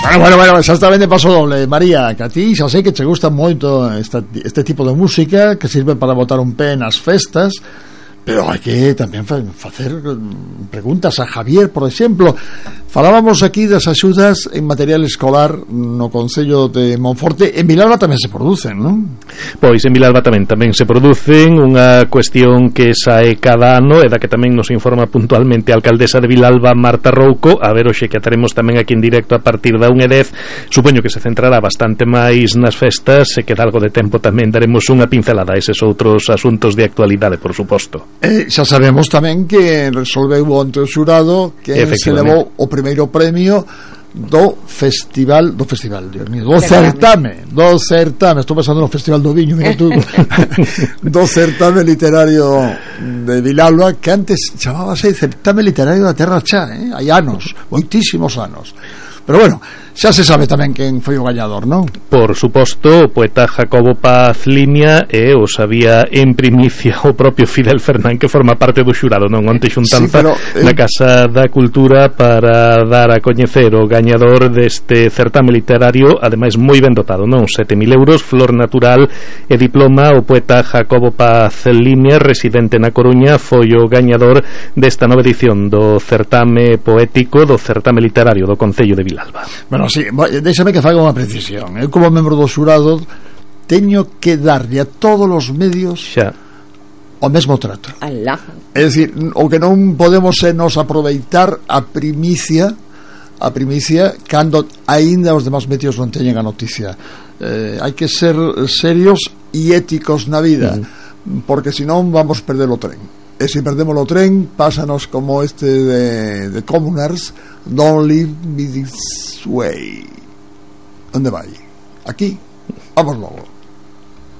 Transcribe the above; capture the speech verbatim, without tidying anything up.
Bueno, bueno, bueno, exactamente, paso doble. María, que a ti xa sei que te gusta moito esta, este tipo de música que sirve para botar un pé nas festas, pero hai que tamén fa, facer preguntas a Javier, por exemplo. Falábamos aquí das axudas en material escolar no Concello de Monforte. En Vilalba tamén se producen, non? Pois en Vilalba tamén tamén se producen. Unha cuestión que sae cada ano e da que tamén nos informa puntualmente a alcaldesa de Vilalba, Marta Rouco. A ver, hoxe que ataremos tamén aquí en directo a partir da unha e dez. Supoño que se centrará bastante máis nas festas, e que dá algo de tempo tamén daremos unha pincelada a eses outros asuntos de actualidade, por suposto. Eh, xa sabemos tamén que resolveu onte o xurado que se levou o primeiro premio do festival do festival, Dios mío, do certame, do certame, estou pensando no festival do viño, mira tú, do certame literario de Vilalba, que antes chamábase certame literario da Terra Chá, eh? Hai anos, moitísimos anos. Pero bueno, xa se sabe tamén quen foi o gañador, non? Por suposto, o poeta Jacobo Paz Limia, e o sabía en primicia o propio Fidel Fernán, que forma parte do xurado, non? Onte xuntanza sí, pero, eh... na Casa da Cultura para dar a coñecer o gañador deste certame literario, ademais moi ben dotado, non? sete mil euros, flor natural e diploma. O poeta Jacobo Paz Limia, residente na Coruña, foi o gañador desta nova edición do certame poético, do certame literario do Concello de Vilalba. Bueno, sí, déxame que faga unha precisión. Eu, como membro do xurado, teño que darlle a todos os medios xa o mesmo trato. Alá. É dicir, o que non podemos é nos aproveitar a primicia a primicia cando aínda os demás medios non teñen a noticia. Eh, hai que ser serios e éticos na vida, mm. porque senón vamos perder o tren. E se perdemos o tren, pásanos como este de, de Communards, Don't Leave Me This Way. Onde vai? Aquí? Vamos logo.